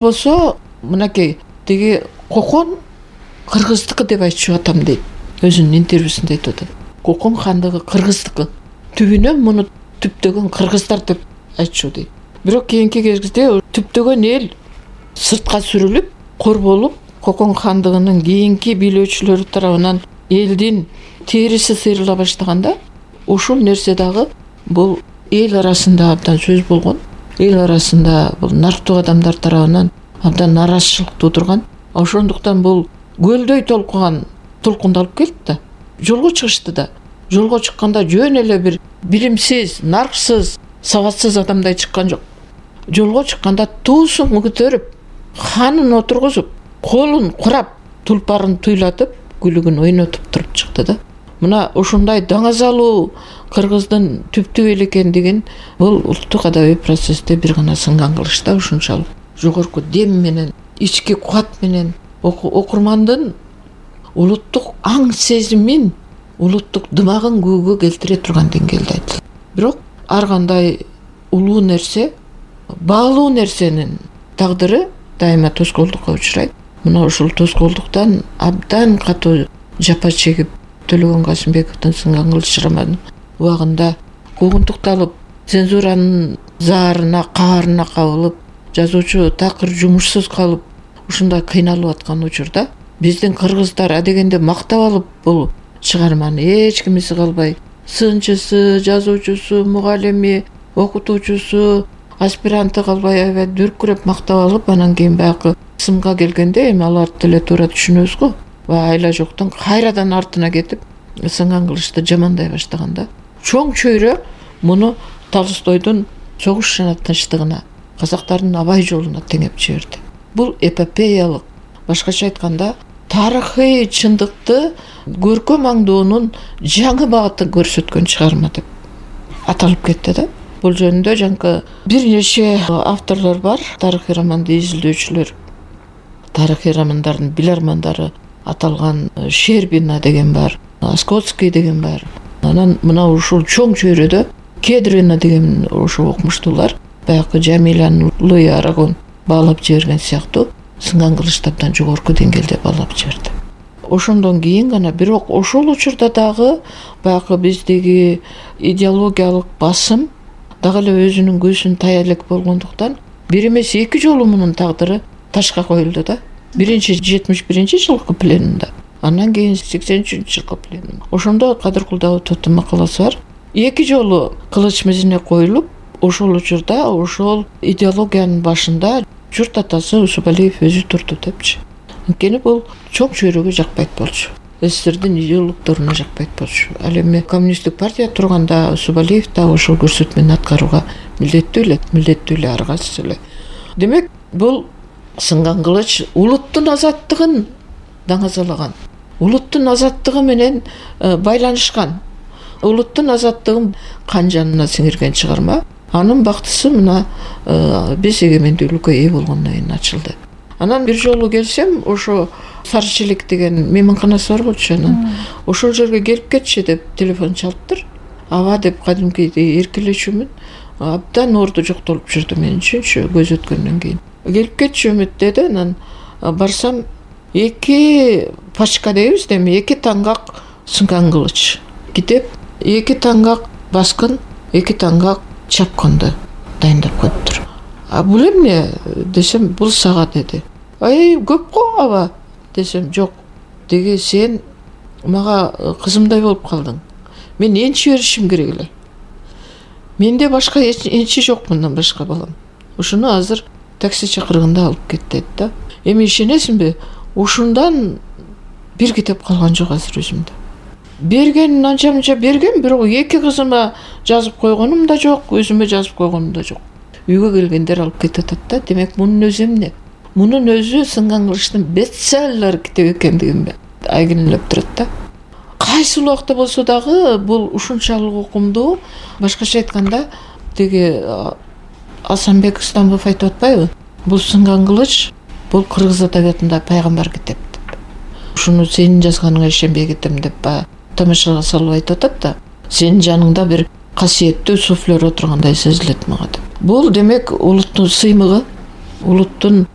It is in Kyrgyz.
болсо мынакей тиги Кокон кыргыздыкы деп айтчу атам дейт. Өзүнүн интервьюсунда айтып атат. Кокон хандыгы кыргыздыкы. Түбүнөн муну түптөгөн кыргыздар деп айтчу дейт. Бирок кийинки кезде түптөгөн эл сыртка сүрүлүп, корболуп, Кокон хандыгынын кийинки бийлөөчүлөрү тарабынан элдин териси сыйрыла баштаганда, ушул нерсе дагы бул эл арасында абдан сөз болгон. Эл арасында бул нарктуу адамдар тарабынан абдан нараазычылык туудурган. Ошондуктан бул көлдөй толкундалып келди да. Жолго чыгышты да. Жолго чыкканда жөн эле бир билимсиз, нарксыз, сабатсыз адамдай чыккан жок. Жолго чыкканда туусун көтөрүп, ханын отургузуп, колун курап, тулпарын туйлатып, күлүгүн ойнотуп туруп чыкты да. Мына ушундай даңазалуу кыргыздын түптүү эл экендигин бул улуттук адабий процессте бир гана сынган кылышта ушунчалык жогорку дем менен, ички кубат менен окурмандын улуттук аң сезимин, улуттук дымагын көөгө келтире турган деңгээлде айтылат. Бирок ар кандай улуу нерсе, баалуу нерсенин тагдыры дайыма тоскоолдукка учурайт. Мына ушул тоскоолдуктан абдан катуу жапа чегип Төлөгөн Касымбековдун сынган кылыч романы убагында куугунтукталып, цензуранын заарына, каарына кабылып, жазуучу такыр жумушсуз калып, ушундай кыйналып аткан учурда биздин кыргыздар адегенде мактап алып бул чыгарманы эч кимиси калбай, сынчысы, жазуучусу, мугалими, окутуучусу, аспиранты калбай аябай дүркүрөп мактап алып, анан кийин баягы сымга келгенде эми аларды деле туура түшүнөбүз го. Айла жоктон кайрадан артына кетип, сынган кылычты жамандай баштаганда, чоң чөйрө муну Толстойдун согуш жана тынчтыгына, казактардын абай жолуна теңеп жиберди. Бул эпопеялык, башкача айтканда, тарыхый чындыкты көркөм аңдоонун жаңы багытын көрсөткөн чыгарма деп аталып кетти да. Бул жөнүндө жанкы бир нече авторлор бар, тарыхый романды изилдөөчүлөр. Тарыхый романдардын билармандары аталган Щербина деген бар, Скотский деген бар. Анан мына ушул чоң чөйрөдө Кедрина деген ошо окумуштуулар баягы Жамилянын Луи Арагон баалап жиберген сыяктуу сынган кылычты абдан жогорку деңгээлде баалап жиберди. Ошондон кийин гана, бирок ошол учурда дагы баягы биздеги идеологиялык басым дагы эле өзүнүн көзүн тая элек болгондуктан бир эмес эки жолу мунун тагдыры ташка коюлду да. Биринчи 71-жылкы пленумда, андан кийин 83-жылкы пленум. Ошондо Кадыр Кулдабытовдун макаласы бар. Эки жолу кылыч мизине коюлуп, ошол учурда ошол идеологиянын башында журт атасы Усубалиев өзү турду депчи. Анткени бул чоң чөйрөгө жакпайт болчу. СССРдин идеологторуна жакпайт болчу. Ал эми коммунисттик партия турганда Усубалиев да ошол көрсөтмөнү аткарууга милдеттүү эле аргасыз эле. Демек, бул сынган кылыч улуттун азаттыгын даңазалаган, улуттун азаттыгы менен байланышкан, улуттун азаттыгын кан жанына сиңирген чыгарма. Анын бактысы мына биз эгемендүүлүккө ээ болгондон кийин ачылды. Анан бир жолу келсем, ошо Сарычелек деген мейманканасы бар болчу, анан ошол жерге келип кетчи деп телефон чалыптыр. Аба деп кадимкидей эркелечүмүн. Абдан орду жоктолуп жүрдү мен үчүнчү көз өткөндөн кийин. Келип кетчү үмүт деди, анан барсам эки пачка дейбиз да, эми эки таңгак сынган кылыч китеп, эки таңгак баскын, эки таңгак чапканды дайындап коюптур. Бул эмне десем, бул сага деди. Көп го аба десем, жок. Деги сен мага кызымдай болуп калдың. Мен энчи беришим керек эле. Менде башка энчи жок, мындан башка балам. Ушуну азыр такси чакырганда алып кет деди да. Эми ишенесиңби? Ушундан бир китеп калган жок азыр өзүмдө. Берген анча-мынча берген, бирок эки кызыма жазып койгонум да жок, өзүмө жазып койгонум да жок. Үйгө келгендер алып кетип атат да. Демек, мунун өзү эмне? Мунун өзү сынган кылычтын бестселлер китеп экендигин айгинелеп турат да. Кайсы убакта болсо дагы бул ушунчалык окумдуу, башкача айтканда, деги Асанбек Стамбов айтып атпайбы? Бул сынган кылыч, бул кыргыз адабиятында пайгамбар китеп деп. Ушуну сенин жазганыңа ишенбей кетем деп тамашага салып айтып атат да. Сенин жаныңда бир касиеттүү суфлер отургандай сезилет мага деп. Бул демек улуттун сыймыгы, улуттун